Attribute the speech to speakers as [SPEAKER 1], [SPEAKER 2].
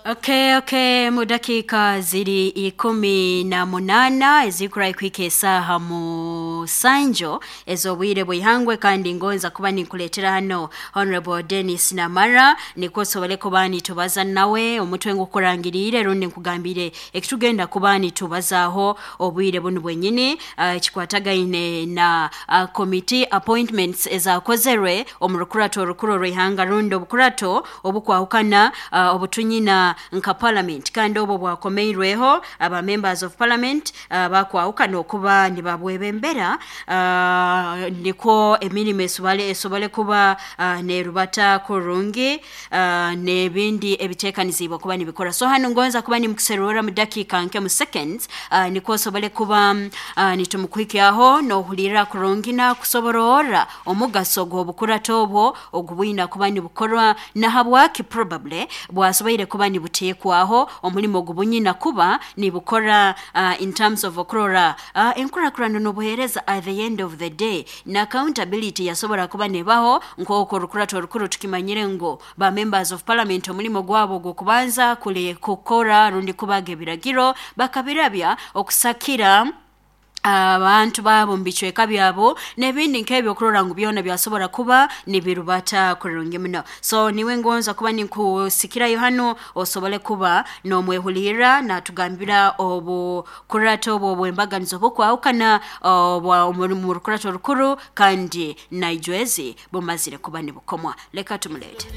[SPEAKER 1] Okay, mu dakiika ziri 18 ezikurahi kuhika esaaha 7 ez'obwire bw'ihangwe, kandi ngonza kuba ninkuleetera hano Honorable Dennis Namara, nikwo osobole kuba nitubaza nawe omutwe ngukurangiriire rundi nkugambire ekitugenda kuba nitubazaaho obwire bunu bwenyini, ekikwatagaine na committee appointments ezakozerwe omu rukurato orukuru orw'ihanga rundi obukurato obukwahukana, obutunyina nka parliament, kandi obwo bwakomeirweho aba members of parliament, bakwahukana okuba nibabwebembera, nikwo emirimo esobole kuba nerubata kurungi, n'ebindi ebiteekaniziibwe kuba nibikora. So hanu ngonza kuba nimukuserura mu dakiika nke, mu seconds, nikwo osobole kuba nitumukuhikyaho n'ohulirra kurungi nakusoborora omugaso gw'obukurato obwo ogubwina kuba nibukorwa, na habwaki probably bwasoboire kuba nibuteekwaho, omulimo ogubunyina kuba nibukora, in terms of okurora enkurakurana n'obuheereza at the end of the day, na accountability yasobora kuba nebaho. Nk'oku orukurato orukuru tukimanyire ngu ba members of parliament omulimo gwabo gw'okubanza kuli kukora rundi kubaga ebiragiro, bakabirabya okusakira abantu baabo mu bicweka byabo n'ebindi nk'ebyo, okurora ngu byona byasobora kuba nibirubata kurungi muno. So niwe ngonza kuba ninkusikirayo hano osobole kuba n'omwehulirra natugambira obukurato obwo obw'embaganizo obukwahukana obwa mu rukurato orukuru, kandi naijwezi bumazire kuba nibukomwa. Leka tumuleete.